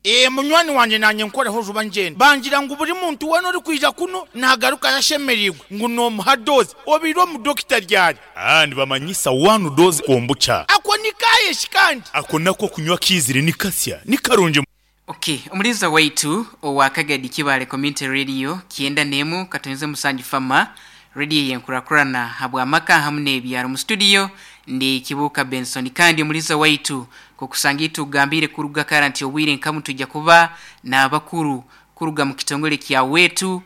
Ee, munywani wangye naanye nkoreho juba ngyende. Bangira ngu buri muntu weena orikwija kunu naagarukayo ashemereirwe ngu noomuha doozi. Obaire omu dokita ryari? Aa, nibamanyisa one dose kombucha. Ako ni kaaye shi kandi? Ako nako okunywa kaizire ni kasya, ni karungi. Ok, omulinzi waitu owa Kagadi Kibaale Community Radio kyenda n'emu katonze musanju Fama Radio eyenkurakurana habw'amaka hamu n'ebyaro. Mu studio ndi Kibuuka Benson kandi omulinzi waitu nkokusanga itwe ogambiire kuruga kara nti obwire nkamu nitwija kuba n'abakuru kuruga mu kitongole kya Wetu,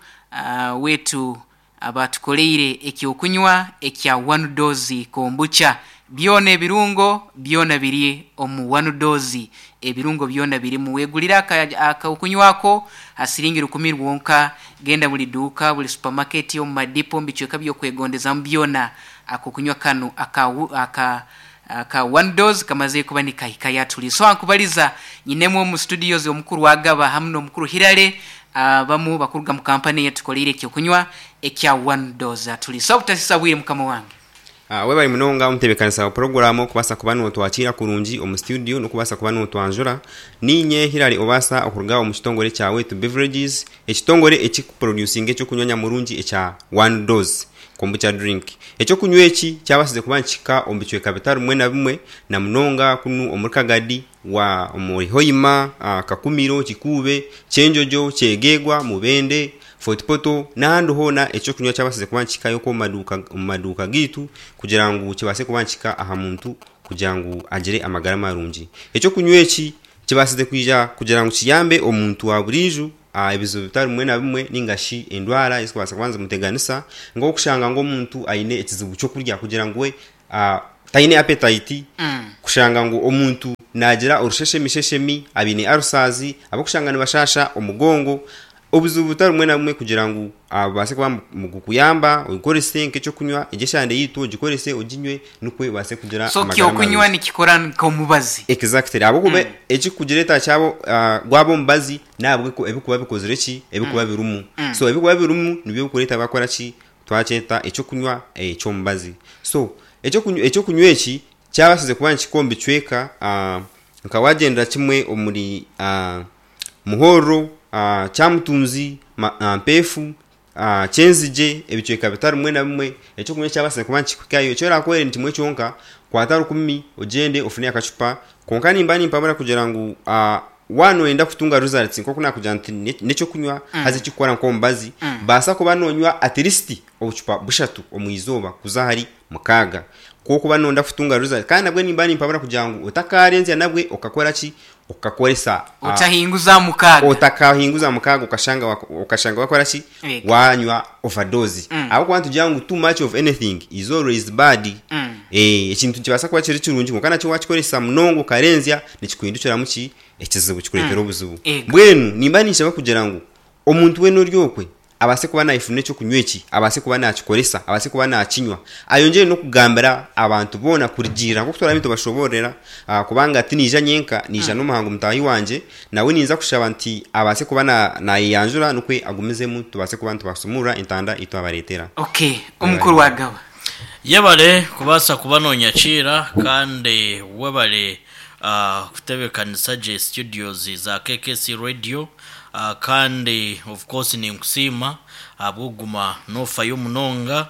Wetu Abatukoleire eky'okunywa ekya One Dose Kombucha. Byona ebirungo byona biri omu One Dose. Ebirungo byona birimu. Wegulire ak'okunywa ako ha siringi rukumi rwonka. Genda buli duuka, buli supamaketi, omu madipo, omu bicweka by'okwegondezamu byona. Ak'okunywa kanu aka aka aka One Dose kamazire kuba nikahikayo aturi. So ankubaliza nyinemu omu studios omukuru Agaba hamu n'omukuru Hirare Abamu bakuruga mu kampani eyetukoleire ekyokunywa ekya One Dose. Atulisa obutasisa bwire mukama wange. Webare munonga omutebekanisa wa puroguramu okubaasa kuba notwakiira kurungi omu studio nokubaasa kuba notwanjura. Niinye Hillary Obasa okuruga omu kitongore ekya Wetu Beverages, ekitongore ekikuproducinga ekyokunywa nyamurungi ekya One Dose Kombucha Drink. Ekyokunywa eki kyabaasize kuba nikihika omu bicweka bitari bimwe na bimwe namunonga kunu omuri Kagadi, wa omuri Hoima, Kakumiro, Kikuube, Kyenjojo, Kyegegwa, Mubende, Fort Portal n'ahandi hoona eky'okunywa kyabasize kuba nikihikayo okwo omu maduuka gaitu kugira ngu kibaase kuba nikihika aha muntu kugira ngu agire amagara marungi. Eky'okunywa eki kibaasize kwija kugira ngu kiyambe omuntu wa buriijo ebizibu bitari bimwe na bimwe ninga shi endwara ezikubaasa kuba nizimuteganisa nk'okushanga ngu omuntu aine ekizibu ky'okurya kugira ngu we taine appetite, kushanga ngu omuntu naagira orusheshemisheshemi, abaine ulcers, abarikushanga nibashaasha omugongo, obuzibu butari bumwe na bumwe kugira ngu bubaase kuba nibukuyamba ogikorese nk'eky'okunywa, egyo eshande yaitu ogikorese oginywe nikwo obaase kugira So amagara kyokunywa marungi. nikikora nk'omubazi. Exactly ahabw'okuba ekirikugireeta kyaba gwaba omubazi n'ahabw'oku ebirikuba bikozire ki, ebirikuba birimu. So ebirikuba birimu nibyo birikureeta bakora ki, Twakyeta eky'okunywa eky'omubazi. So, eky'okunywa eki kyabasize kuba nikihika omu bicweka nka wagyendera kimwe omuri Muhorro, Kyamutunzi, Mpeefu, Kyenzigye, ebicweka bitari bimwe na bimwe, eky'okunywa kyabasize kuba nikihikayo. Eki orakore ni kimwe kyonka, kwata rukumi ogyende ofune akacupa, kwonka nimba nimpabura kugira ngu Waaba nooyenda kutunga results nk'oku naakugira nti n'eky'okunywa haza ekirikukora nk'omubazi, baasa kuba noonywa at least obucupa bushatu omu izooba kuza ahari mukaaga. Ku orikuba nooyenda kutunga results kandi nabwe nimba nimpabura kugira ngu otakaarenzya nabwe okakora ki, okakoresa Otahinguza aha mukaaga. Otakahinguza aha mukaaga okashanga okashanga waakora ki, Ego. waanywa overdose. Ahabw'okuba nitugira ngu too much of anything is always bad. Ekintu nikibaasa kuba kiri kirungi kwonka nakyo waakikoresa munonga okarenzya nikikuhindukiramu ki? Ekizibu, kikureetera obuzibu. Ego. Mbwenu nimba ninshaba kugira ngu omuntu weena ori okwe abaase kuba naayefuna eky'okunywa eki, abaase kuba naakikoresa, abaase kuba naakinywa, ayongyere n'okugambira abantu boona kurugiirira nk'oku turabe nitubashoboororera kubanga tinaija nyenka, naija n'omuhangu mutaahi wangye, nawe ninza kushaba nti abaase kuba naayeyanjura nikwo agumizemu tubaase kuba nitubasumurura entanda ei twabareetera. Okay, omukuru wa Gaba. Yebare kubaasa kuba nonyakiira kandi webare kutebekanisa gye studios za KKC Radio kandi of course ninkusiima ahabw'okuguma nofayo munonga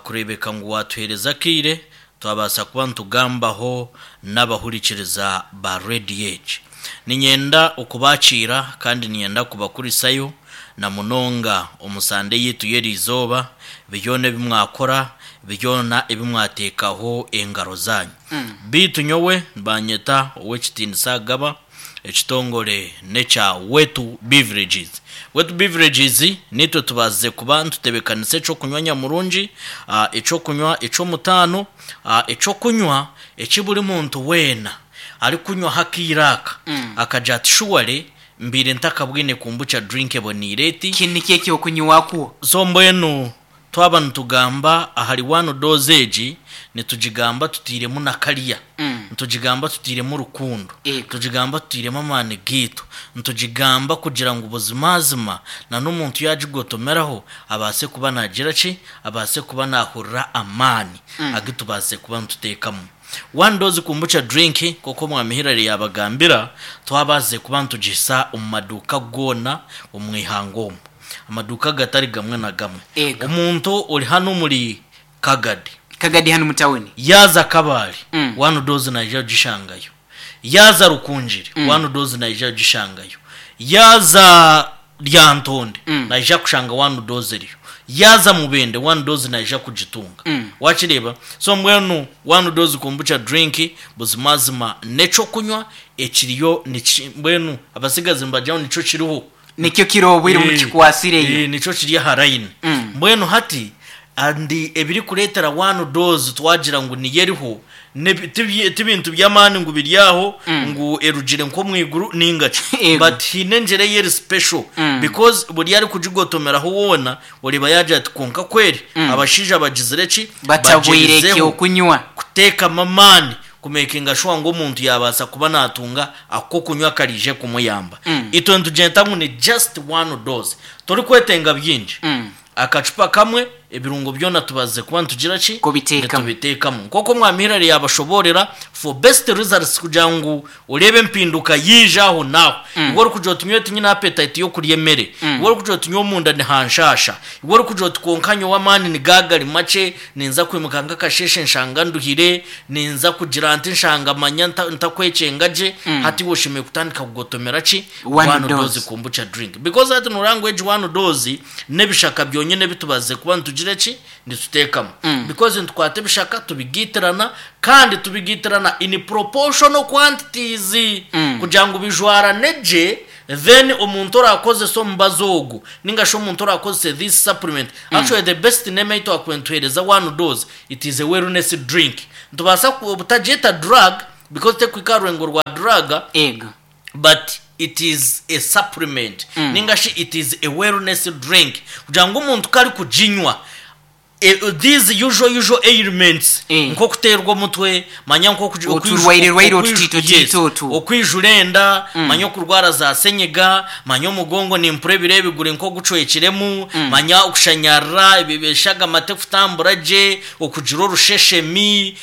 kureebeka ngu watuheereza akaire twabaasa kuba nitugambaho n'abahurikiriza ba radio egi. Niinyenda okubakiira kandi niinyenda kubakurisayo na munonga omu sande yaitu y'eriizooba, byona ebi mwakora, byona ebi mwateekaho engaro zaanyu. Beitu nyowe nibanyeta Ow'ekitiinisa Agaba, ekitongore n'ekya Wetu Beverages. Wetu Beverages naitwe tubaasize kuba nitutebeekanisa eky'okunywa nyamurungi, eky'okunywa eky'omutaano, eky'okunywa eki buri muntu weena arikunywaho akaire aka akagira ati shuware Mbaire ntakabwine kombucha drink eboneire eti. Ki nikyo eky'okunywakwo. So mbwenu twaba nitugamba ahari one dose egi, nitugigamba tutairemu na kariya, nitugigamba tutairemu rukundo, nitugigamba tutairemu amaani gaitu, nitugigamba kugira ngu buzimazima na n'omuntu yaagigotomeraho abaase kuba naagira ki, abaase kuba naahurira amaani agu tubaasize kuba nituteekamu. One Dose Kombucha Drink nk'oku Omwami Hillary yaabagambira, twabaasize kuba nitugihisa omu maduuka goona omu ihanga omu. Amaduuka gatari gamwe na gamwe. Ego. Omuntu ori hanu omuri Kagadi. Kagadi hanu mu tawuni. Yaaza Kabale, Mm. One Dose naija kugishangayo. Yaaza Rukungiri, One Dose naija kugishangayo. Yaaza Lyantonde, naija kushanga One Dose eriyo. Yaaza Mubende, One Dose naija kugitunga. Wakireeba? So mbwenu One Dose Kombucha Drink buzimazima n'ekyokunywa ekiriyo niki mbwenu abatsigazi nibagira ngu nikyo kiriho. Nikyo kiri obwire obu kikwatsireyo. Nikyo kiri aha layini. Mbwenu hati and ebirikureetera One Dose twagira ngu niyo eriho ti bintu by'amaani ngu biri aho ngu erugire nk'omu iguru nainga ki. Yego. But haine engyera ei eri special because buri arikugigotomeraho woona oreeba yaagira ati kwonka kweri abashaija bagizire ki? Batabwire Bagyerizeho ekyokunywa. kuteekamu amaani kumekinga shuwa ngu omuntu yaabaasa kuba naatunga ak'okunywa akaraije kumuyamba. Itwe nitugyenda ngu ni just one dose. Torikwetenga bingi. Akacupa kamwe, ebirungo byona tubazize kuba nitugira ki? Kubiteekamu. Nitubiteekamu. Nk'oku Omwami Hillary yaabashoboorera, for best results kugira ngu oreebe empinduka yaija aho n'aho. Iwe orikugira oti nyowe tinyine appetite y'okurya emere, iwe orikugira oti nyowe omunda nihanshaasha, iwe orikugira oti kwonka nyowe amaani nigaaba gari makye, ninza kwimuka nk'akasheeshe nshanga nduhire, ninza kugira nti nshanga manya ntakwekyenga gye, hati iwe oshemereire kutandika kugotomera ki? One One dose. dose kombucha drink. Because hati noreeba ngu egi one dose n'ebishaka byonyine ebi tubazize kuba nitugira ki? Nituteekamu. Because nitukwata ebishaka tubigiitirana kandi tubigiitirana in proportional quantities kugira ngu bijwarane gye then omuntu oraakozese omubazi ogu ninga shi omuntu oraakozese this supplement actually the best name ei twakubaire nituheereza one dose it is a wellness drink. Nitubaasa obutagyeta drug because terikuhika aha rurengo rwa drug Ego. but it is a supplement ninga shi it is a wellness drink kugira ngu omuntu ku arikuginywa these usual usual ailments nk'okuteerwa omutwe manya nk'okugi- okwiju- Oturwaire-rwaire okwiju- otutiito yes, tiito otu. okwijura enda manya okurwara za senyiga manya omugongo nimpura ebiro ebi guri nk'ogucwekiremu manya okushanyarara ebi- eshagama tekutambura gye okugira orusheshemi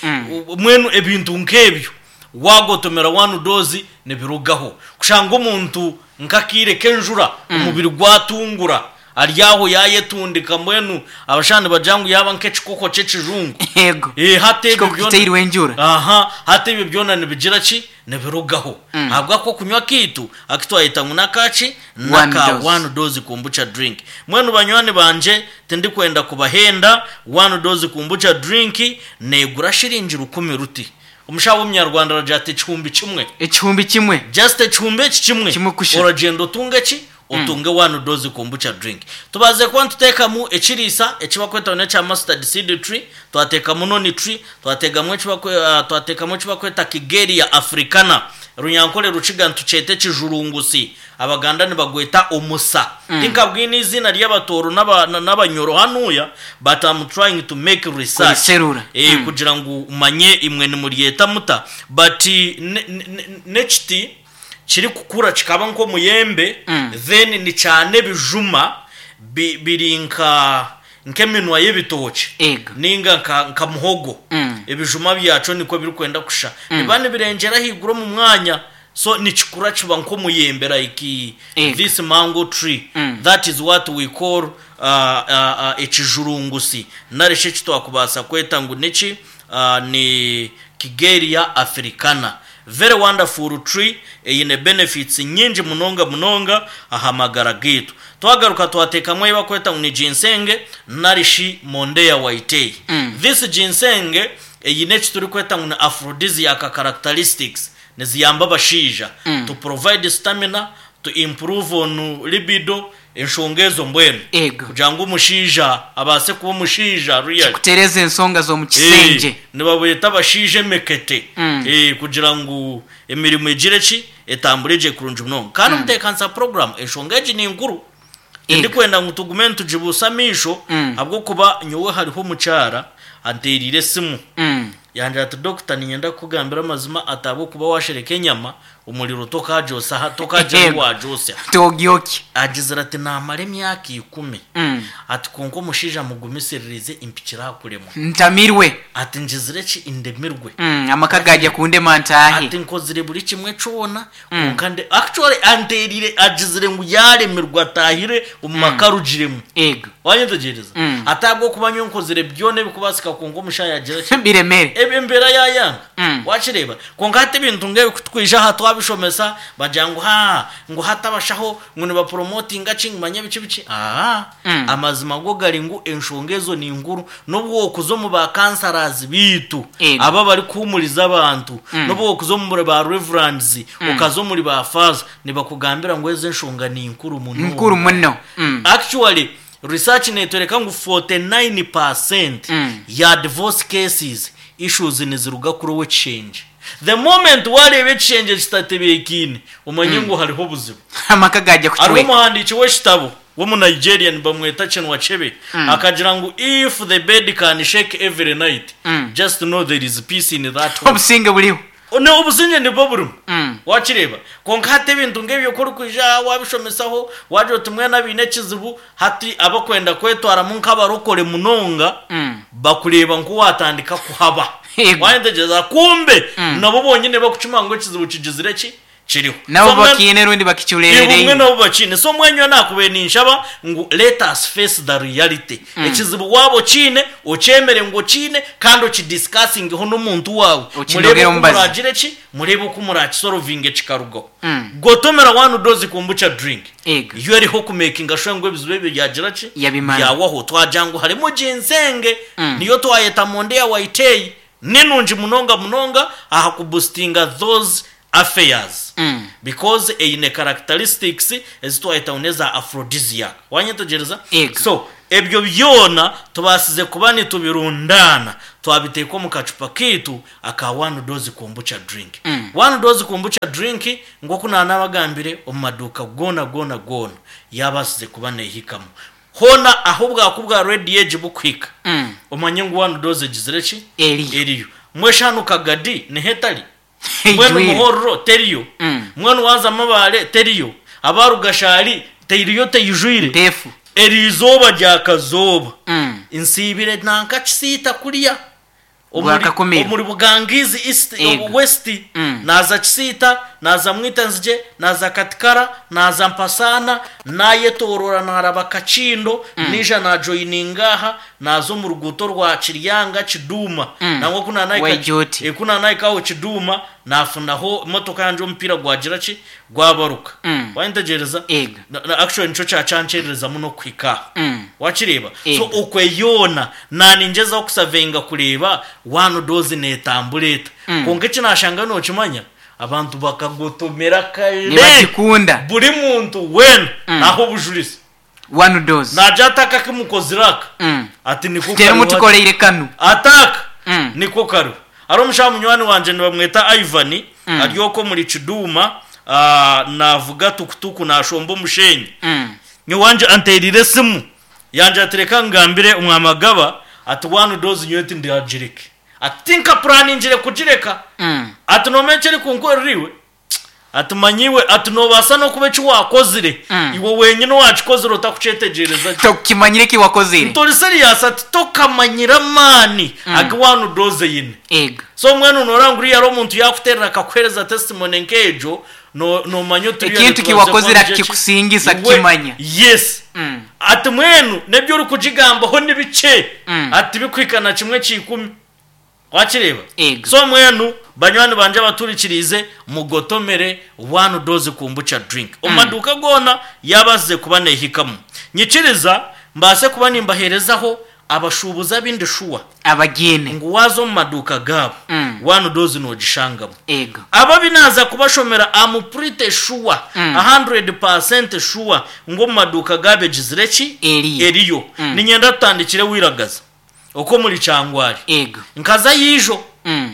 mbwenu ebintu nk'ebyo Waagotomera one dose nibirugaho. Kushanga omuntu nk'akaire k'enjura omubiri gwatungura ari aho yaayetundika mbwenu abashaho nibagira ngu yaaba nk'ekikoko ky'ekijungu. Yego. Eh, hati ebyo Ekikoko byona kiteirwe enjura. Aha, hati ebyo byona nibigira ki? Nibirugaho. Ahabw'ak'okunywa kaitu aku twayeta ngu n'akaki? One N'aka dose. one dose kombucha drink. Mbwenu banywani bangye tindikwenda kubahenda, one dose kombucha drink neegura shiringi rukumi ruti. Omushaho w'omunyarwanda aragira ati ekihumbi kimwe. Ekihumbi kimwe. Just ekihumbi eki kimwe. Kimwe kusha. Oragyenda otunge ki? Otunge one dose kombucha drink. Tubaze kuba nituteekamu ekiriisa eki barikweta ngu n'ekya mustard seed tree, twateekamu noni tree, twateekamu eki bakwe twateekamu eki barikweta kigeria africana. Runyankore Rukiga nitukyeta ekijurungusi, Abaganda nibagweta omusa. Tinkabwine eiziina ry'Abatooro n'Abanyoro hanuya but am trying to make research Kuriserura. kugira ngu manye imwe nimuryeta muta but n'ekiti kirikukura kikaba nk'omuyembe then nikyana ebijuma biri nka nk'eminwa y'ebitookye Ego. nainga nka nka muhogo. Ebijuma byakyo nikwo birikwenda kushusha. Nibiba nibirengyera ahaiguru omu mwanya so nikikura kiba nk'omuyembe like Ego. this mango tree. That is what we call uh, uh, uh, ekijurungusi nari shi eki twakubaasa kweta ngu niki uh, ni Kigeria africana. Very wonderful tree eine benefits nyingi munonga munonga aha magara gaitu. Twagaruka twateekamu ei barikweta ngu ni ginseng nari shi Mondeya Whitei. This ginseng eine eki turikweta ngu ni aphrodisiac characteristics, niziyamba abashaija to provide stamina, to improve on libido, enshonga ezo mbwenu. Ego. Kugira ngu omushaija abaase kuba omushaija really. Kikutereeza ensonga z'omu kisengye. Nibabweta abashaija emekete kugira ngu emirimo egire ki? Etambure gye kurungi munonga. Kandi omuteekanisa puroguraamu enshonga egi ni nkuru. Tindikwenda ngu tugume nitugibuusa amaisho ahabw'okuba nyowe hariho omukyara anteereire esimu yangira ati, Dokita niinyenda kukugambira amazima ati ahabw'okuba waashereka enyama, Omuriro tokagyotsya aha, tokagira ahu waagyotsya. Togyokya. Agizire ati, Naamara emyaka ikumi. Ati, Kwonka omushaija mugumisiririze mpikire aha kuremwa. Ntamirwe. Ati, Ngizire ki? Ndemirwe. Amaka gaagya kundema ntaahe. Ati, Nkozire buri kimwe kyona, kwonka nde. Actually anteereire, agizire ngu yaaremirwe ataahire omu maka arugiremu. Ego. Wanyetegyereza? Ati, Ahabw'okuba nyowe nkozire byona ebikubaasika kwonka omushaija yagira ki? Biremere. Embeera yaayanga. Wakireeba? Kwonka hati ebintu nk'ebi ku tukwija aha twabishomesa, bagira ngu haa, ngu hati abashaho ngu nibapromotinga ki, ngu manya biki biki. Aa, amazima go gari ngu enshonga ezo ni nkuru. N'obu wookuza omu ba counsellors baitu, Ego. abo abarikuhuumuriza abantu, n'obu wookuza omuri ba reverends, okaza omuri ba faaza, nibakugambira ngu ezo enshonga ni nkuru munonga. Nkuru muno. Actually, research neetworeka ngu 49% ya divorce cases Issues niziruga kuri ow'ekishengye. The moment wareeba ekishengye kitatebeekaine, omanye ngu hariho obuzibu. Amaka gaagya Hariho kucweka. omuhandiiki w'ekitabo w'omu Nigeria nibamweta Chinua Achebe, akagira ngu if the bed can shake every night, just know there is peace in that home. Obusinge buriho. Ne obusingye nibwo burimu. Wakireeba? Kwonka hati ebintu nk'ebyo ku orikwija aha waabishomesaho, waagira oti mbwenu abaine ekizibu, hati abakwenda kwetwaramu nk'abarokore munonga, bakureeba nk'owaatandika kuhaba. Yego. Waayetegyereza? Kumbe nabo bonyine bakukimanya ngu ekizibu kigizire ki? Kiriho. Nabo So mbwenu- bakiine rundi Ibumwe bakicureereire. nabo bakiine. So mbwenu nyowe naakubaire ninshaba ngu let us face the reality. Ekizibu waaba okiine, okyemere ngu okiine kandi okidiscussingeho n'omuntu waawe. Mureebe Okinogere oku omu bazi. muraagire ki, mureebe oku muraakisorovinge kikarugaho. Gotomera one dose kombucha drink. Ego. Yo eriho kumakinga sure ngu ebizibu ebyo byagira ki? Yabimara. Byawaho. Twagira ngu harimu ginseng, niyo twayeta Mondeya Waitei, Ni nungi munonga munonga aha kubustinga those affairs because eine characteristics ezi twayeta ngu n'eza aphrodisiac. Wanyetegyereza? Ego. So, ebyo byona tubaasize kuba nitubirundaana twabiteeka omu kacupa kaitu aka One Dose Kombucha Drink. One Dose Kombucha Drink nk'oku naanabagambire omu maduuka goona goona goona yaabaasize kuba neehikamu. Hoona ahu obwaku bwa rediyo egi bukuhika, omanye ngu wanu doozi egizire ki? Eriyo. Eriyo. Mbwenu hanu Kagadi niho etari? Mbwenu Eijwire. Muhorro teriyo? Mbwenu waaza Mabaale teriyo? Aba Rugashari teriyo teijwire? Nteefu. Eri izooba rya kazooba nsiibire nanka Kisiita kuriya. Omuri, Gwakakumiro. omuri Bugangizi East, Ego. West, Mm. naaza Kisiita, naaza Mwitanzigye, naaza Katikara, naaza Mpasaana, naayetoorora naaraba Kakindo, naija naajoyininga aha, naaza omu ruguuto rwa Kiryanga, Kiduuma. Nangwa ku naanahika, Waijoti. eh, ku naanahika aho Kiduuma, naafunaho emotoka yangye omupiira gwagira ki? Gwabaruka. Waayetegyereza? Ego. Na, na, actually nikyo kyakyankyeerereza muno kuhika aha. Wakireeba? So Ego. okwe yoona naaningyezaho kusavenga kureeba one dose neetambura eta. Kwonka eki naashanga nookimanya, abantu bakagotomera kare. Nibagikunda. Buri muntu weena naaha obujurizi. One dose. Naagira ati aka aku mukozire aka, ati niko Teri kariho hati. mutukoreire kanu. Ati aka niko kariho. Hariho omushaija munywani wangye nibamweta Ivan, ari okwo omuri Kiduuma, naavuga tukutuku naashomba omusheenyi. Nyowe anteereire esimu yangira ati reka ngambire Omwamagaba ati one dose nyowe tindagireke. Ati tinkapuraaningire kugireka. Ati noomanya eki erikunkorera iwe? Ati manya iwe, ati noobaasa n'okuba eki waakozire iwe wenyine owaakikozire otakukyetegyereza gye. Tokimanyire eki wakozire. Nti ori serious? Ati tokamanyire amaani agu one dose eine. Ego. So mbwenu nooreba ngu uriya ari omuntu yaakuteerera akakuheereza testimony nk'egyo, no- noomanya oti uriya Ekintu nitubaasa kiwakozire kuba nigyo ki? akikusingisa Iwe- kukimanya. Yes. Ati mbwenu n'ebi orikugigambaho ni bikye, ati tibikuhika na kimwe kya ikumi. Wakireeba? Ego. So mbwenu banywani bangye abaturikiriize, mugotomere one dose kombucha drink. Omu maduuka goona yaabaasize kuba neehikamu. Nyikiriza mbaase kuba nimbaheerezaho abashuubuzi abu ndi shuwa Abagiine. ngu waaza omu maduuka gaabo, one dose noogishangamu. Ego. Abo abu naaza kubashomera am pretty sure, 100% sure ngu omu maduuka gaabo egizire ki? Eriyo. Eriyo. Niinyenda tutandikire Wiragaza. Okwo omuri Kyangwari. Ego. Nkazayo ijo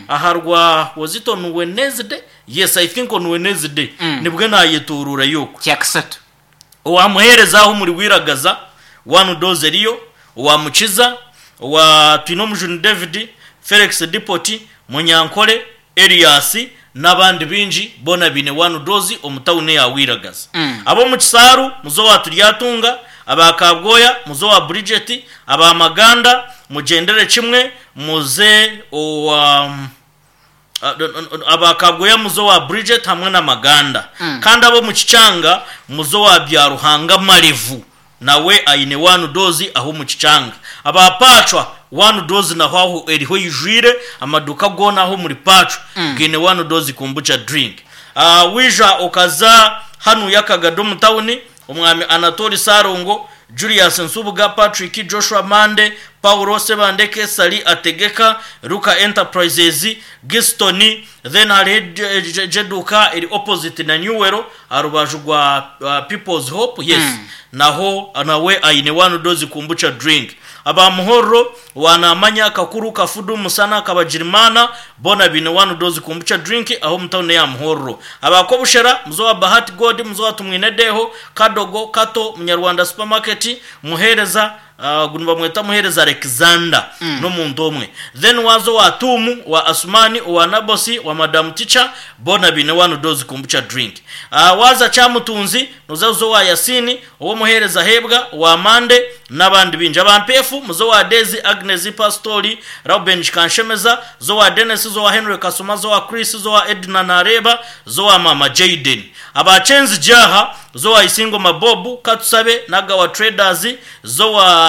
aha rwa was it on Wednesday? Yes, I think on Wednesday nibwe naayetoororayo okwo. Kyakasatu. Owa Muheereza aho omuri Wiragaza, one dose eriyo, owa Mukiza, owa Twinomujuni David, Felix Depot, Munyankore, Elias. N'abandi baingi boona baine One Dose omu tauni eya Wiragazi. Ab'omu Kisaaru muze owa Turyatunga, aba Kabwoya muze owa Bridget, aba Maganda mugyendere kimwe muze owa aba Kabwoya muze owa Bridget hamwe na Maganda. Kandi ab'omu Kikyanga muze owa Byaruhanga Marevu. Nawe aine one dose aho omu kikyanga. Aba Paacwa, one dose naho aho eriho eijwire, amaduuka goona aho omuri Paacwa gaine one dose kombucha drink. Waija okaza hanuya Kagado omu tawuni, Omwami Anatoli Ssalongo, Julius Nsubuga, Patrick, Joshua Mande, Paulo Ssebandeke, Ssali Ategeka, Luka Enterprises, Giston, then hariho egyo eduuka eri opposite na Newell aha rubaju rwa People's Hope, yes, naho nawe aine one dose kombucha drink. Aba Muhorro, owa Namanya, Kakuru, Kafudu, Musana, Kabagirimana, boona baine one dose kombucha drink aho omu tawuni eya Muhorro. Aba Kobushera, muze owa Bahati God, muze owa Tumwine Deho, Kadogo, Kato, Munyarwanda Supermarket, Muhereza, Ogu nibamweta Muheereza Alexander, n'omuntu omwe. Then waaza owa Tuumu, owa Asumani, owa Nabosi, owa Madam Teacher, boona baine one dose kombucha drink. Waaza Kyamutunzi, nooza kuza owa Yasini, ow'Omuheereza Hebwa, owa Mande, n'abandi baingi. Aba Mpeefu, muze owa Daisy, Agnes, Pasitori, Rauben Kikanshemeza, za owa Denis, za owa Henry Kasoma, za owa Chris, za owa Edna Nareeba, za owa Maama Jayden. Aba Kyenzigye aha, za owa Isingoma Bob, Katusabe, Nagawa Traders, Z'owa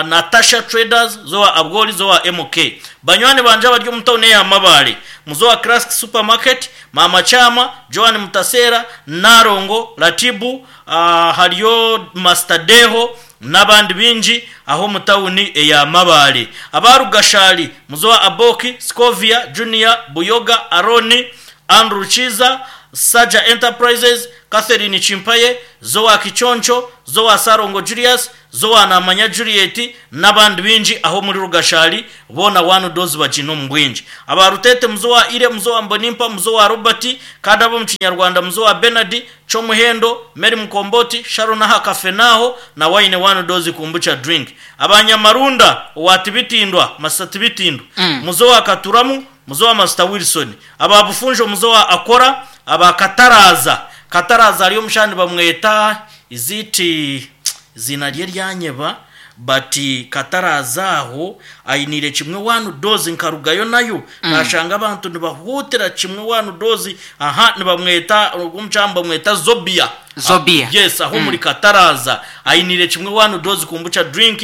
Natasha Traders, z'owa Abwoli, z'owa MK. Banywani bangye abari omu tauni eya Mabaale, muze owa Classic Supermarket, Maama Kyama, Joan Mutaseera, Nalongo, Ratibu, hariyo Master Deho n'abandi baingi aho omu tauni eya Mabaale. Aba Rugashali, muze owa Aboki, Scovia, Junior, Buyoga, Aroni, Andrew Kiiza, Saja Enterprises, Catherine Chimpaye, Zoa Kiconco, Zoa Sarongo Julius, Zoa Namanya Juliet n'abandi baingi aho omuri Rugashari boona one dose bagiine omu bwingi. Aba Rutete Muzoa Ire, Muzoa Mbonimpa, Muzoa Robert kandi ab'omu Kinyarwanda Muzoa Bernard, Kyomuhendo, Mary Mukomboti, Sharon aha Kafenaaho nawe aine one dose kombucha drink. Aba Nyamarunda owa Tibitindwa, Masita Tibitindwa, Muzoa Katuramu, Muzoa Masita Wilson, Aba Bufunjo Muzoa Akora, aba Kataraaza, Kataraaza hariyo omushaija nibamweta is it eiziina rye ryanyeba but Kataraaza aho ainiire kimwe one dose nkarugayo nayo nashanga abantu nibahuutira kimwe one dose aha nibamweta ogwo omukyara nibamweta Zobia. Zobia. Yes aho omuri Kataraaza ainiire kimwe one dose kombucha drink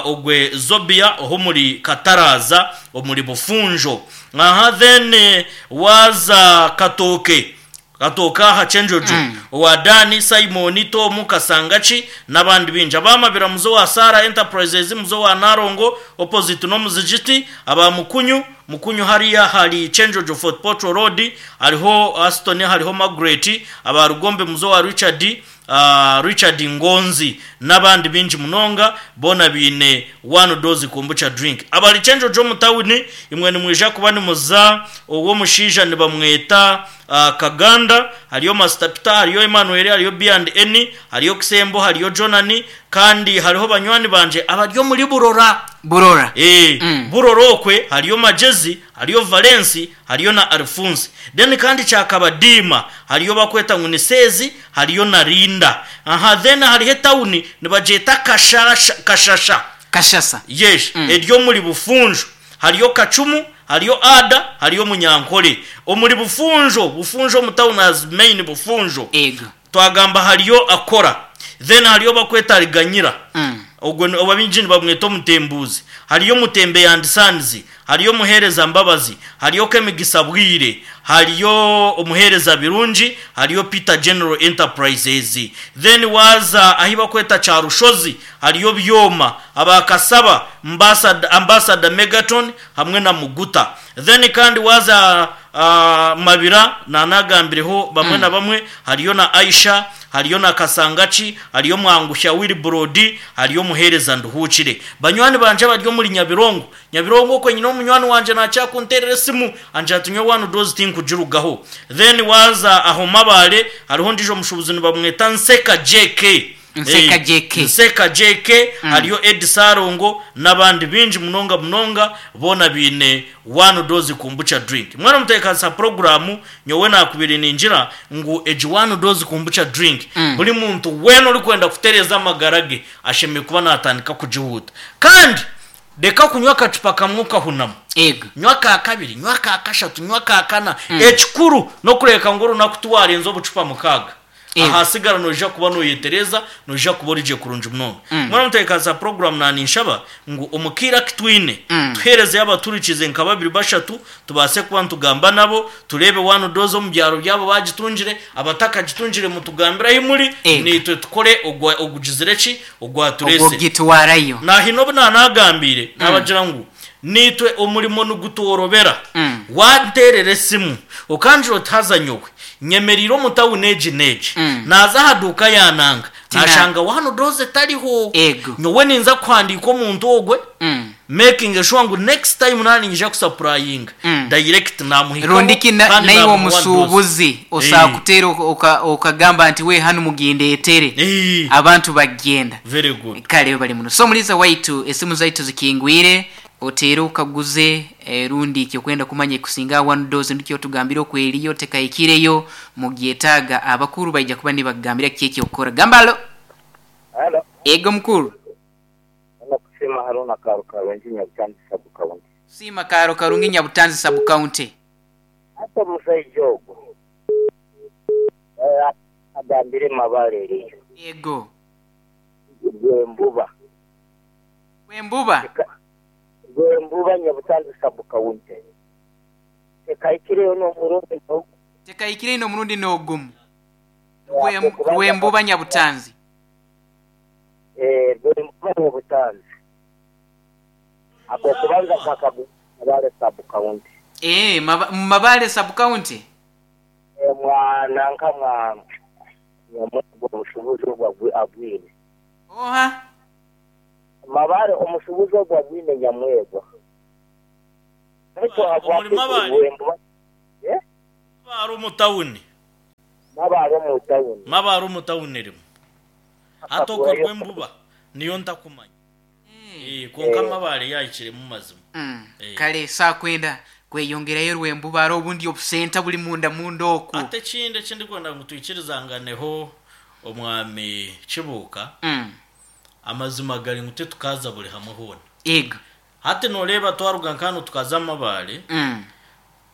ogwe Zobia oho omuri Kataraaza omuri Bufunjo. Aha then waaza Katooke, Katooke aha Kyenjojo, owa Dani, Simon, Tom, Kasangaki n'abandi baingi. Aba Mabira muze owa Sarah Enterprises, muze owa Nalongo opposite n'omuzigiti, aba Mukunyu, Mukunyu hariya ahari Kyenjojo Fort Portal Road, hariho Aston hariho Margaret, aba Rugombe muze owa Richard, Richard Ngonzi n'abandi baingi munonga boona baine one dose kombucha drink. Abari Kyenjojo omu tawuni imwe nimwija kuba nimuza ow'omushaija nibamweta Kaganda, hariyo Master Peter, hariyo Emmanuel, hariyo B and N, hariyo Kisembo, hariyo Jonani kandi hariho banywani bangye abari omuri Burora. Burora. Burora okwe hariyo Magyezi, hariyo Valensi, Hariyo na Alifunsi. Then kandi Kyakabadiima hariyo bakweta ngu ni Seezi hariyo na Rinda. Aha then hariho etawuni nibagyeta Kashasha Kashasha. Kashasa. Yes, eri omuri Bufunjo. Hariyo Kacumu, hariyo Ada, hariyo Munyankore. Omuri Bufunjo, Bufunjo omu tawuni as main Bufunjo. Ego. Twagamba hariyo Akora. Then hariyo bakweta Riganyira. Ogwo ni abaingi nibamweta Omutembuuzi. Hariyo Mutembeya and Sons. Hariyo Omuheereza Mbabazi, hariyo Kemigisa Bwire, hariyo Omuheereza Birungi, hariyo Peter General Enterprises. Then waaza ahi bakweta Kyarushozi hariyo Byoma, aba Kasaba, Ambassador Megaton hamwe na Muguta. Then kandi waaza Mabira naanagambireho bamwe na bamwe, hariyo na Aisha, hariyo na Kasangaki, hariyo Mwanguhya Wilbrod, hariyo Omuheereza Nduhuukire. Banywani bangye abari omuri Nyabirongo, Nyabirongo okwe nyine omunywani wangye naakira kunteerera esimu angira ati nyowe one dose tinkugirugaho. Then waaza aho Mabaale hariho ondiijo mushuubuzi nibamweta Nseka JK. Nseka JK. Nseka JK, hariyo Eddie Ssalongo n'abandi baingi munonga munonga boona baine One Dose Kombucha Drink. Mbwenu omuteekanisa puroguraamu nyowe naakubaire ningira ngu egi One Dose Kombucha Drink buri muntu weena orikwenda kutereeza amagara ge ashemereire kuba naatandika kugihuuta. Kandi reka kunywa akacupa kamwe okahunama. Ego. Nywa aka kabiri, nywa aka kashatu, nywa aka kana. Ekikuru n'okureebeka ngu orunaku tiwaarenza obucupa mukaaga. Ego. Ahasigara noija kuba noyetereza, noija kuba ori gye kurungi munonga. Mbwenu omutebeekanisa puroguraamu naaninshaba ngu omu kaire aku twine, tuheerezeyo abaturikiize nka babiri bashatu, tubaase kuba nitugamba nabo, tureebe one dose omu byaro byabo baagitungire, abatakagitungire mutugambire ahi muri, Ego. naitwe tukore ogwa ogugizire ki? Ogwatureesire. Ogw'okugitwarayo. Nahaine obu naanaagambiire, naabagira ngu naitwe omurimo nigutworobera. Wanteerera esimu okangira oti haza nyowe nyemereire omu tawuni egi n'egi, naaza aha duuka ya nanga naashanga one dose etariho. Ego. Nyowe ninza kuhandiika omuntu ogwe making sure ngu next time naaba niinyija kusapurayinga direct naamuhikaho Rundi ki na- kandi naiwe naamuha one dose. omusuubuzi osobola kuteera oka- okagamba nti we hanu mugindeetere abantu bagyenda. Very good. Kale bali muno. So omuliisa waitu esimu zaitu zikingwire oteere okaguze eh, rundi ekyokwenda kumanya ekusinga aha one dose nikyo otugambire oku eriyo tekahikireyo mugyetaaga abakuru baija kuba nibakugambira kiki ekyokukora. Gamba halo. Halo. Ego mukuru. Hano Kusiima Haruna Kaaro Karungi Nyabutanzi Sub County. Kusiima Kaaro Karungi Nyabutanzi Sub County. Hati omusaija ogwo agambire Mabare eriyo. Ego. Rwembuba. Rwembuba? Rwembuba Nyabutanzi Sub County. Tekahikireyo n'omurundi n'ogumu. Tekahikireyo n'omurundi n'ogumu. Rwembuba Nyabutanzi. Rwembuba Nyabutanzi. Ak'okubanza nkakagura Mabale Sub County. Eeh, mu Mabale Sub County? Eeh, mwa nanka mwa Nyamwegwa omushubuzi ogwo agwine. Oha? Mabale omushubuzi ogwo agwine Nyamwegwa. Baitu Omuri habwaki Mabale? Rwembuba? Eh? Mabale omu tawuni. Mabale omu tawuni. Mabale omu tawuni erimu. Hati okwo Rwembuba niyo ntakumanya. Eh, kwonka Mabale yahikiremu mazima. Eh. Kale saakwenda kweyongerayo Rwembuba hare obundi obusenta buri munda munda okwo. Hati ekindi eki ndikwenda ngu twikirizanganeho Omwami Kibuuka, amazima gari ngu titukaza buri hamwe hoona. Ego. Hati nooreeba twaruga nka hanu tukaza Mabale,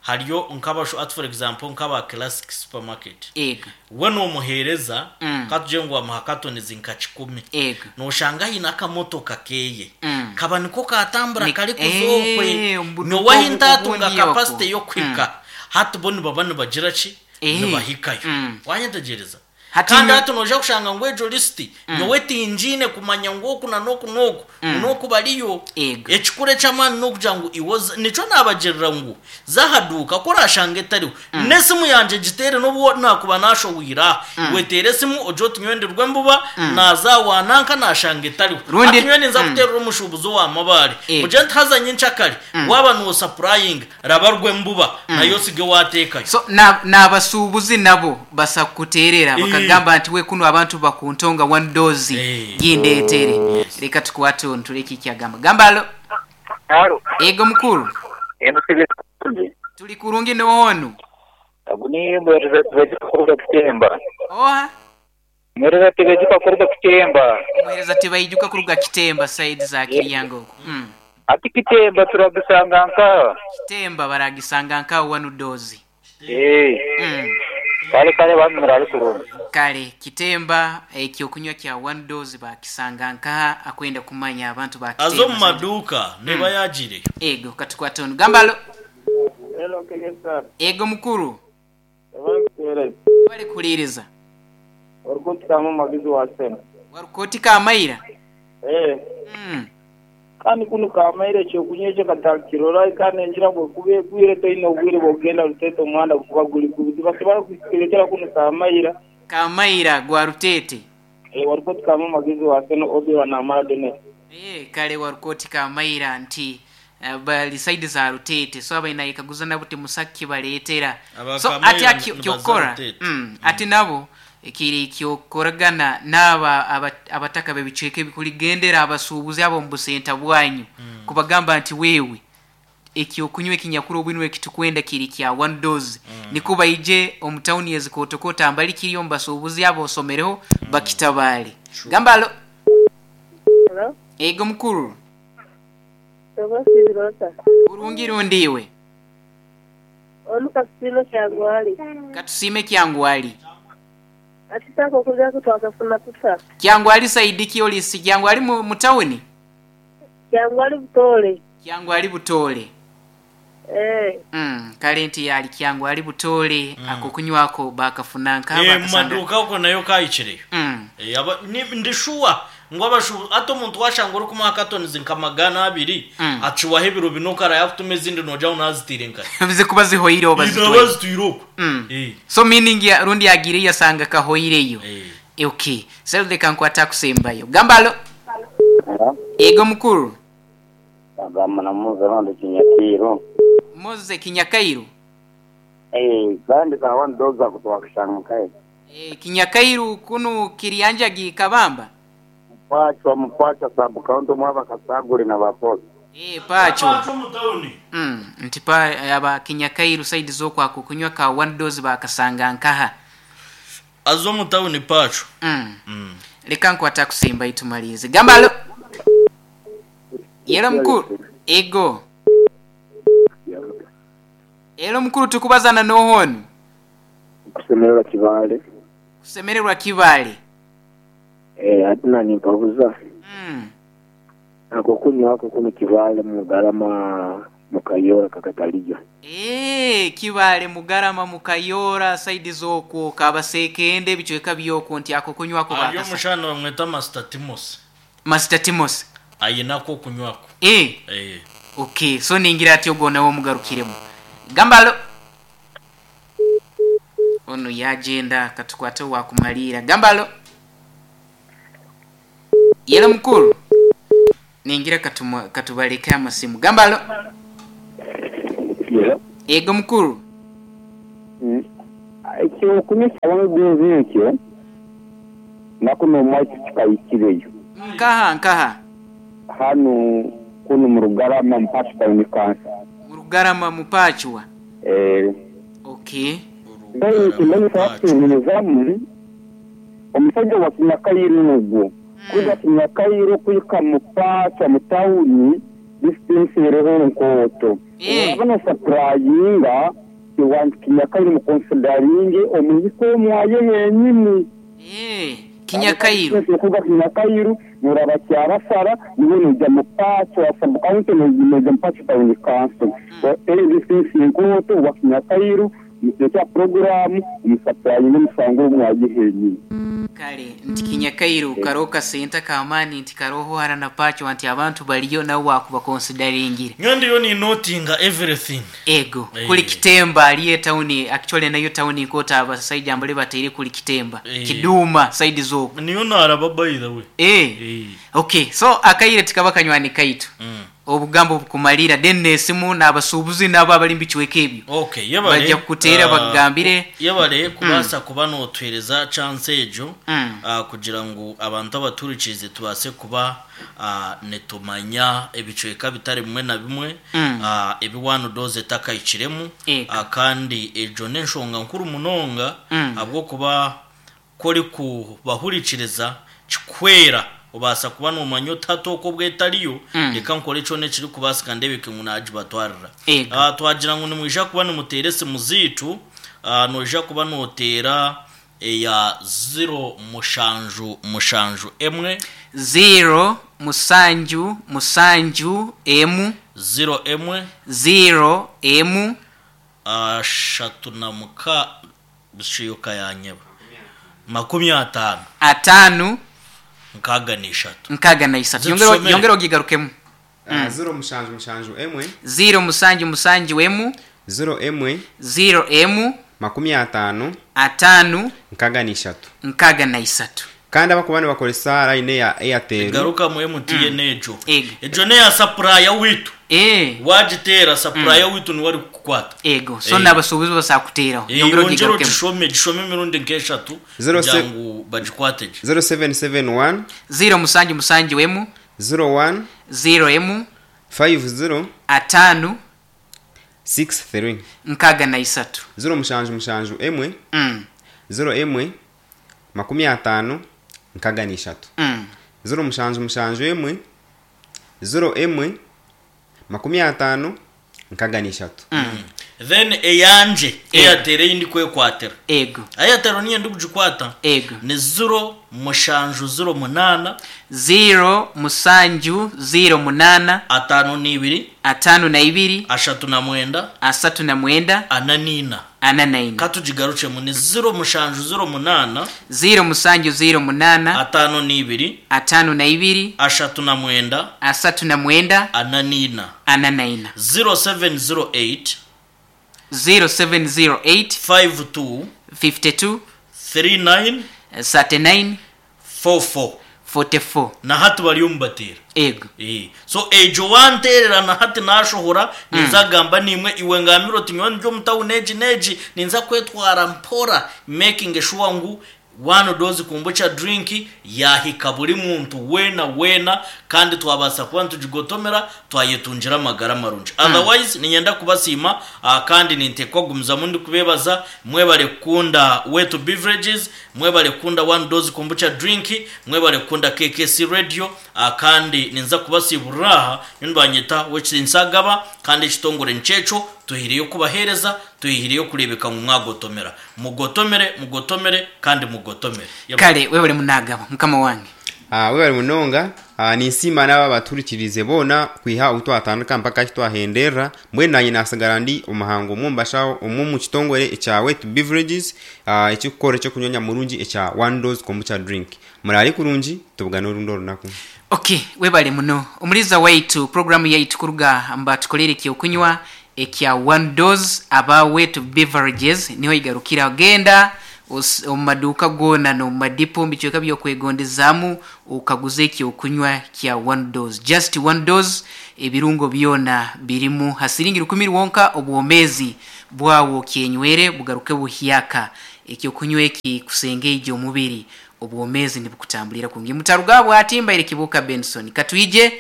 hariyo nk'abashu hati for example nk'aba Classic Supermarket. Ego. We noomuheereza, Mm. ka tugire ngu wamuha katonizi nka kikumi. Ego. Nooshanga aine akamotoka keeye. Mm. Kaba niko kaatambura Ni- karikuza okwe. Eh, omu buduuka Nyowe ahi obu- ntaatunga obundi okwo. capacity y'okuhika, hati bo nibaba nibagira ki? Eh. Nibahikayo. Mm. Waanyetegyereza? Hati Kandi nyo- hati noija kushanga ngu egyo lisiti nyowe tingiine kumanya ngu oku na n'oku n'oku n'oku bariyo. Ego. Ekikuru eky'amaani n'okugira ngu iwe oze, nikyo naabagirira ngu za aha duuka ku oraashanga etariho, n'esimu yangye giteere n'obu naakuba naashohwire aha, iwe teera esimu ogire oti nyowe ndi Rwembuba naaza aha wa nanka naashanga etariho. Rundi- Hati nyowe ninza kuteerera omushuubuzi owa Mabaare, Ego. mugire nti haza nyenkyakare waaba noosapurayinga raba Rwembuba nayo osige waateekayo. So na n'abasuubuzi nabo basa kukuteerera bakagamba nti we kunu abantu bakuntonga one dose Eh. gindeetere. Leka tukwate onu turebe eki kyagamba. Gamba halo. Halo. Ego mukuru. Eno tuli kurungi. Tuli kurungi n'ohonu. Ogu ni Mwereza Tibaijuka kuruga Kitemba. Oha? Mwereza Tibaijuka kuruga Kitemba. Mwereza Tibaijuka kuruga Kitemba side za Kiryango okwo. Mm. Hati Kitemba turagisanga nkaha? Kitemba baragisanga nkaha wanu dozi. Eh. Mm. Kale kale bambi murare kurungi. Kale Kitemba ekyokunywa kya one dose bakisanga nkaha akwenda kumanya abantu ba Aza Kitemba omu side. maduuka neeba yaagiireyo. Ego katukwate onu. Gamba halo. Hello KSR. Ego mukuru. Ebankutereza. Webale kuhuriiriza. Orikutukamu omuhagizi wa Sena. Waruka oti Kamaira? Eh. Kandi kunu Kamaira ekyokunywa ekyo katakirora kandi enjura bwekuba egwire toine obwire bwokugenda Ruteete omuhanda gukuba guri kubi. Tibasobora kuturetera kunu Kamaira. Kamaira gwa Ruteete. Eh, waruka oti Kama omuhagizi wa Sena Obby wa Namara Denis. Eh, kale waruka oti Kamaira nti bali side za Ruteete so abaine nayekaguza nabo timusa kibaretera. Aba So Kamaira ati nibaza kyokukora Ruteete. ati nabo Kiri ky'okukoragana n'aba abataka b'ebicweka ebi kurigendera abasuubuzi abo omu busenta bwanyu kubagamba nti wewe ekyokunywa ekinyakuri obwinwe ekitukwenda kiri kya one dose nikwo baije omu tawuni ezikootokooto ambali kiri omu basuubuzi abo osomereho bakitabaale. Gamba alo. Hello. Ego mukuru. Oba osiibire ota? Burungi rundi iwe? Onu Katusiime Kyangwali. Katusiime Kyangwali. Ati ak'okulya ko twakafuna tuta? Kyangwali saidi ki oli? Si Kyangwali mu tawuni? Kyangwali Butoole. Kyangwali Butoole. Eeh. Kale nti ali Kyangwali Butoole ak'okunywako baakafuna nka Mu baakasanga. maduuka okwo nayo kaahikireyo. Ndi shuwa ngu abashuubuzi hati omuntu waashanga orikumuha katonizi nka magana abiri aciwaho ebiro bina okara yaakutuma ezindi noogira ngu naaziteire nkahi. Zikuba zihoireho Naaba bazitwaire. azitwire okwo. So meaning rundi agiireyo yasanga kahoireyo. Okay. So leka nkwate akusembayo. Gamba alo. Ego mukuru. Agamba na Mose rundi Kinyakairu. Mose Kinyakairu. Eh, kandi ka one dose ako twakashanga nkahe. Eh, Kinyakairu kunu Kirianjagi Kabamba. Mupachwa mupachwa sub county mwaba Kasaguri na Baposa. Eh, Pacho. Pacho mu town. Nti pa aba Kinyakairu side z'okwako kunywa ka one dose bakasanga nkaha. Aza omu town Pacho. Leka nkwate akusembayo tumalize. Gamba alo. Yelo mukuru. Ego. Elo mukuru tukubazana n'oha onu? Kusemererwa Kibale. Kusemererwa Kibale. Eh, ati nanimpabuza. Ako kunywa ako kunu Kibale Mugarama Mukayora kakataliyo. Eeh, Kibale Mugarama Mukayora side z'okwo Kabasekende ebicweka by'okwo nti ako kunywa ako Ari bakasa. omushana nibamweta Master Timothy. Master Timothy. Aine ak'okunywa ako. Eeh. Eeh. Okay, so ningira ati ogwo nawe omugarukiremu. Gamba alo. Onu yagyenda katukwate owakumaliira. Gamba alo. Yelo mukuru. Ningira katuma katubaleke amasimu. Gamba alo. Yelo. Ego mukuru. Ekyokunywa kya one dose ekyo naku nomwaitu kikahikireyo. Nkaha nkaha? Hanu kunu mu Rugarama mu Pacho Town Council. Mu Rugarama mu Pachwa? Eeh. Okay. Baitu nikimanyisa kutuhumuzamu omusaija wa Kinyakairu ogwo kuruga Kinyakairu kuhika mu Pacho mu tawuni distance eriho nkooto. Waaba nosapurayinga iwe Kinyakairu mukonsidaringe omuhike omwaye yenyini. Kinyakairu. Kuruga Kinyakairu noraba Kyabasara niiwe noija mu Pacho sub county noija mu Pacho town council. Eyo distance nkooto owa Kinyakairu Muteeke aha puroguraamu, musapurayinge omusango ogu mwagiheereire. Kale nti Kinyakairu karoho kasente ak'amaani nti karoho hara na Pacho nti abantu bariyo nawe waakubakonsidaringire. Nyowe ndiyo ni notinga everything. Ego, kuri Kitemba hariyo etawuni actually nayo tawuni nk'oti abasaija mbare bataire kuri Kitemba, Kiduuma side z'okwo. Niyo naaraba by the way. Eeh, okay so akaire tikaba kanywani kaitu. Obugambo obukumariira then n'esimu n'abasuubuzi n'abo abari omu bicweka ebyo Okay, yebare baija kukuteera bakugambire. Yebare kubaasa kuba nootuheereza chance egyo kugira ngu abantu abatuhurikiize tubaase kuba nitumanya ebicweka bitari bimwe na bimwe ebi One Dose etakahikiremu kandi egyo n'enshonga nkuru munonga ahabw'okuba Ku orikubahurikiriza kikuhwera, obaasa kuba noomanya oti hati oku obwo etariyo, reka nkore kyona ekirikubaasika ndeebeke ngu naagibatwarira. Twagira ngu nimwija kuba nimuteera esimu zaitu, noija kuba nooteera eya ziro mushanju mushanju emwe. Ziro musanju musanju emu. Ziro emwe. Ziro emu. Ashatu na muka Bushiyoka yanyeba. 50. Ataano. 63. 63. Zitusomere. Yongera ogigarukemu. Ziro mushanju mushanju emwe. Ziro musanju musanju emu. Ziro emwe. Ziro emu. 50. Ataano. 63. 63. Kandi abakuba nibakoresa layini eya Airtel. Garukamu MTN egyo. Egyo n'eya sapuraya waitu. Waagiteera sapuraya waitu niwe arikukuha. Kukwata. Ego, so n'abasuubuzi basobola kuteeraho. Yongera Yongyera ogigarukemu. ogishome, gishome emirundi nk'eshatu Zero kugira ngu bagikwate gye. 0771 0 musanju musanju emu 01 0 emu 50 ataano 63 63. 077 1 01 50 63. 077 1 01 50 63. Then eyangye Airtel ei ndikwekwatira. Ego. Airtel niyo ndikugikwata. Ego. Ni 0708 0708 52 52 39 39 44. 44. Katugigarukyemu ni 0708 0708 52 52 39 39 44. 44. 0708 0708 52 52 39 39 44. 44. Na hati bari omubateera. Ego. So egyo wanteerera na hati nashohora ninza kugamba niimwe iwe ngambire oti nyowe ndi omu tawuni egi n'egi ninza kwetwara mpora making sure ngu one dose kombucha drink yahika buri muntu weena weena kandi twabaasa kuba nitugigotomera twayetungira amagara marungi. Otherwise niinyenda kubasiima kandi ninteekwa kugumizamu ndikubeebaza mwebare kukunda Wetu Beverages, mwebare kukunda One Dose Kombucha Drink, mwebare kukunda KKC Radio kandi ninza kubasiiburira aha nyowe nibanyeta Owekitiinisa Agaba kandi ekitongore nikyekyo tuhiireyo kubaheereza tuhiireyo kureebeka ngu mwagotomera. Mugotomere, mugotomere kandi mugotomere. Kare webare munagaba mukama wange. Webare munonga. Ninsiima n'abo abatuhurikiriize boona kwiha obu twatandika mpaka ahi twahenderera. Mbwenu naanye naatsigara ndi omuhangu omwe omu bashaho omwe omu kitongore ekya Wetu Beverages ekirikukora eky'okunywa nyamurungi ekya One Dose Kombucha Drink. Muraare kurungi, tubugane orundi orunaku. Ok, webale muno omuliza waitu. Puroguramu yaitu kuruga mubatukoleire ekyokunywa ekya One Dose aba Wetu Beverages niho eigarukira. Genda omu maduuka goona n'omu madipo omu bicweka by'okwegondezaamu okaguze ekyokunywa kya One Dose. Just One Dose ebirungo byona birimu ha siringi rukumi rwonka obwomeezi bwawe okyenywere bugaruke buhyaka. Ekyokunywa eki kusengeija omubiri obwomeezi nibukutambulira kurungi. Mutaruga aha bwati mbaire Kibuuka Benson. Katwije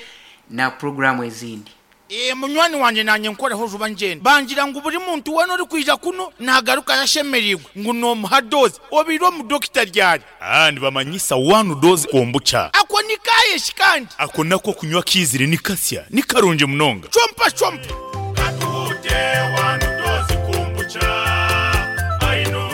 na puroguraamu ezindi. Ee, munywani wangye naanye nkoreho juba ngyende. Bangira ngu buri muntu weena orikwija kunu naagarukayo ashemereirwe ngu noomuha doozi. Obaire omu dokita ryari? Aa, nibamanyisa one dose kombucha. Ako ni kaaye shi kandi? Ako nako okunywa akaizire ni kasya, ni karungi munonga. Chompa chompa. Katuhute one dose kombucha.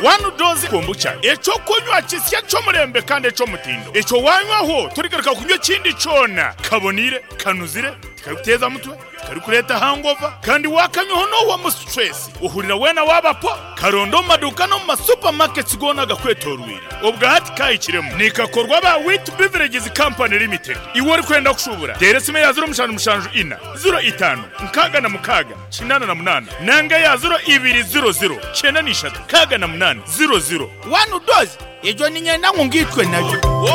One dose kombucha, eky'okunywa kisya eky'omurembe kandi eky'omutindo. Ekyo waanywaho torigaruka kunywa ekindi kyona. Kaboniire, kanuzire, tikarikuteeza mutwe, tikarikureeta hangova, kandi waakanywaho noohwamu situresi, ohurira weena waaba po. Karonde omu maduuka n'omu ma supamaketi goona agakwetooroire. Obwa hati kaahikiremu. Nikakorwa aba Wheat Beverages Company Limited. Iwe orikwenda kushuubura, teera esimu eya ziro mushanju mushanju ina, ziro itaano, nkaaga na mukaaga, 88 nanga eya ziro ibiri ziro ziro, 93, 68, ziro ziro. One dose, egyo niinyenda ngu ngaitwe nayo.